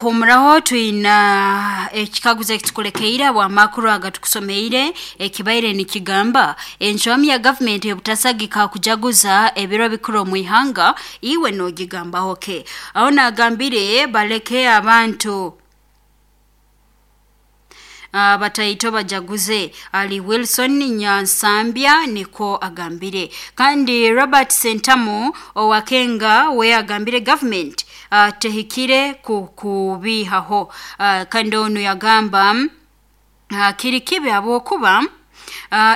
Humuraho twina ekikaguzo ekitukulekeire habw'amakuru agatukusomeire ekibaire nikigamba encwamu ya gavumenti obutasagika kujaguza ebiro bikuru omu ihanga, iwe nogigambaho ke? Aho nagambire baleke abantu bataito bajaguze. Ali Wilson Nyansambya nikwo agambire. Kandi Robert Sentamu owakenga we agambire government tehikire kubihaho. Kandi onu yagamba kiri kibi habwokuba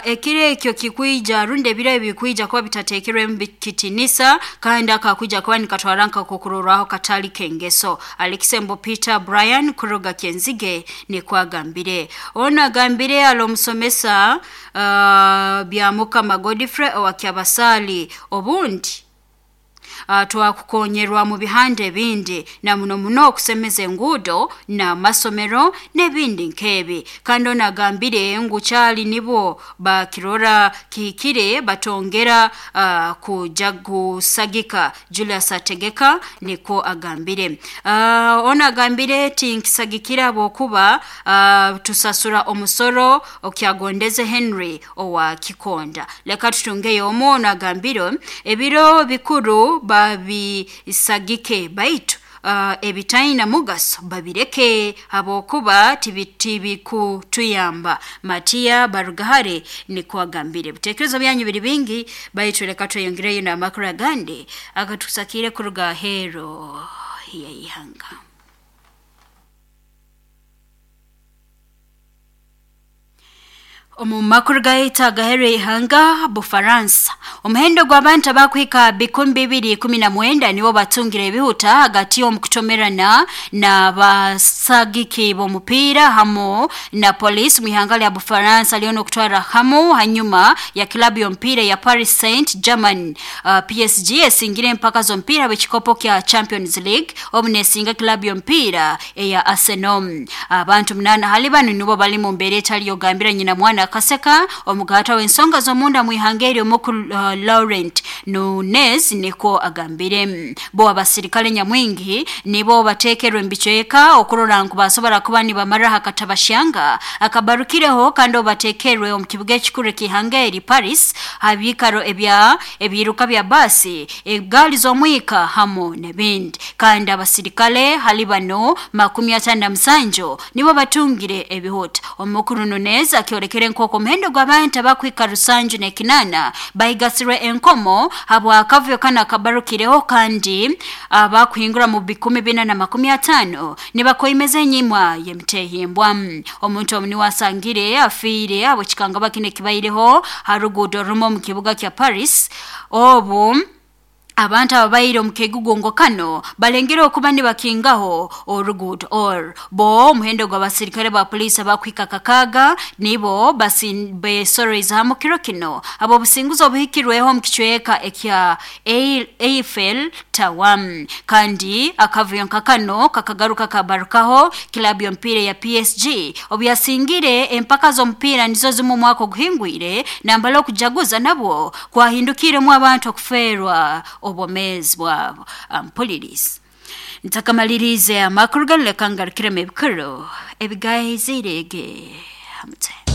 ekiro ekyo kikwija rundi ebiro ebi bikwija kuba bitateekerwemu kitinisa, kandi akakwija kuba nikatwara nkakokurorwaho katali k'engeso. Alekisembo Peter Brian kuruga Kyenzige nikwo agambire. Onu agambire ali omusomesa Byamukama Godfrey owa Kyabasaali, obundi twakukonyerwa mu bihanda ebindi na muno muno okusemeza enguudo n'amasomero n'ebindi nk'ebi. Kandi ono agambire ngu kyali nibo bakirora kihikire batongera kuja kusagika. Julius Ategeka nikwo agambire. Ono agambire tinkisagikira habwokuba tusasura omusoro okyagondeze Henry owa Kikonda. Leka tutungeyo omu. Ono agambire ebiro bikuru babisagike baitu ebitaina mugaso babireke habwokuba tibikutuyamba. Matiya Barugahare nikwo agambire. Ebitekerezo byanyu biri bingi, baitu leka tweyongereyo n'amakuru agandi agatusakire kuruga ahero y'ihanga. Omu makuru gaitu agaheru ihanga Bufaransa, omuhendo gw'abantu abakuhika 2,019 nibo batungire ebihuta hagati y'omukutomerana n'abasagiki b'omupiira hamu na polisi mu ihanga lya Bufaransa lyo n'okutwara hamu hanyuma ya kilabu y'omupiira ya Paris Saint-Germain PSG esingire empaka z'omupiira bw'ekikopo kya Champions League obu nesinga kilabu y'omupiira eya Arsenal. Abantu 8 hali banu nibo bali mu mbeera etali yogambira nyina mwana akaseka omugaata w'ensonga z'omunda mu ihanga eryo mukuru Laurent Nunes niko agambire. Bo abasirikale nyamwingi nibo bateekerwe mbicweka okurora ngu basobora kuba nibamara akatabashyanga akabarukireho, kandi obateekerwe omu kibuga ekikuru ek'ihanga eri Paris habiikaro ebya ebiruka bya basi, egaali z'omwika hamu n'ebindi. Kandi abasirikale hali bano 57 nibo batungire ebihuta. Omukuru Nunes akyolekere nk'oku omuhendo gw'abantu abakuhika 78 bahigasirwe enkomo habw'akavuyo kano akabarukireho, kandi abakuhingura mu 450 nibakoimeza enyimwa y'emitehimbwa. Omuntu omu niwe asangire afiire habw'ekikangabwa kinu ekibaireho ha ruguudo rumu omu kibuga kya Paris, obu abantu ababaire omu kegugungo kano balengere okuba nibakingaho oruguudo or bo omuhendo gw'abasirikale ba poliisi abakuhika 6 nibo besorreize hamu kiro kino abo obusinguzi obuhikirweho omu kicweka ekya Eiffel Tower. Kandi akavuyo nka kano kakagaruka kabarukaho kilabu y'omupiira ya PSG obu yasingire empaka z'omupiira nizo zimu omwaka oguhingwire, nambala okujaguza nabwo kwahindukiremu abantu okufeerwa obwomeezi bwabo. Mpulirize ntakamalirize amakuru ganu, leka ngarukiremu ebikuru ebigaizirege hamute.